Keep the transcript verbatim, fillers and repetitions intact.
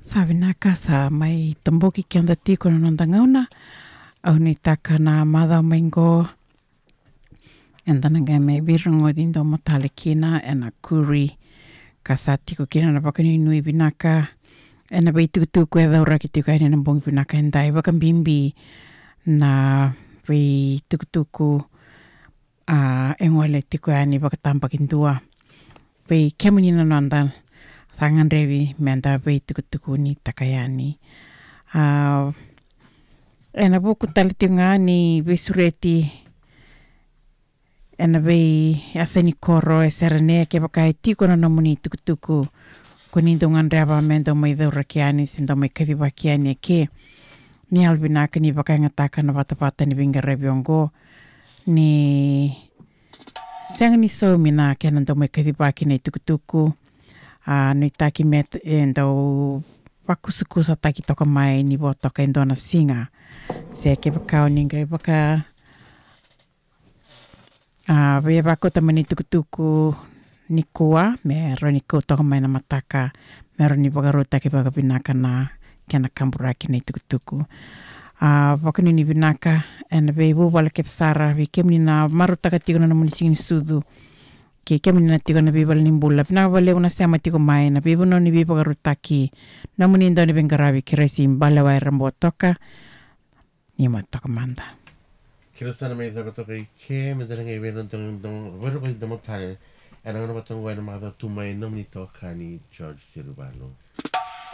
Sa vinaka, sa mai taboki keda tiko na noda gauna. Au nuitaka na macawa mai qo eda na qai mai veirogoci domo tale kina ena kuri ka sa tiko kina na vakanuinui vinaka ena veitukutuku e cauraki tiko yani ena bogi vinaka edai, vakabibi na veitukutuku a e gole tiko yani vakatabakidua. Vei kemuni na noda sa gadrevi meda veitukutukunitaka yani. A ena vuku tale tiko ga ni veisureti ena veiyasa ni koro e Serene, kevaka e tiko na nomuni tukutuku ko ni dau gadreva me dau mai cauraki yani se dau mai kacivaki yani eke, ni yalovinaka ni vakayagataka na vatavata ni veiqaravi oqo. Ni sega ni saumi na kena dau mai kacivaki na itukutuku, a nuitaki me e dau vakusakusataki toka mai ni vo toka e dua na siga. Se kevaka o ni qai vaka a via vakauta mai na itukutuku nikua me rawa ni kau toka mai na mataka, me rawa ni vakarautaki vakavinaka na kena kaburaki na itukutuku. A vakanuinui vinaka ena veivuvale kece sara, vei kemuni na marautaka tiko na nomuni siga ni sucu, kei kemuni na tiko na veivale ni bula, vinaka vakalevu na sema tiko mai na veivanua ni veivakarautaki. Nomuni dau ni veiqaravi, Keresi Balewai Rabotoka. Ni ma toka mada. Kila sa na mai cava toka i ke, me da na qai vei na domo, domo, vei na domo tale. Ena gauna vata oqo ena macawa tu mai nomuni tokani George Sirivalo.